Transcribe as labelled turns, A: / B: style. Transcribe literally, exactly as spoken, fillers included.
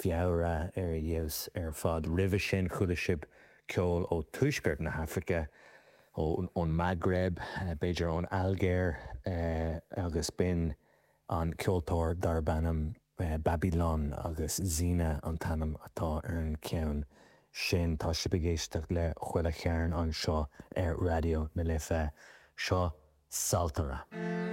A: Feabhra ar fheabhas ar fad. Roimhe sin chuala sibh ceol ó tuaisceart na hAfraice, ón Maghreb, b'fhéidir ón Ailgéir agus b'in an ceoltóir darb ainm Babylon agus Zina an t-ainm atá ar an cheann sin. Tá sibh ag éisteacht le Chuile Chearn anseo ar Raidió na Life. Seo Saltaire.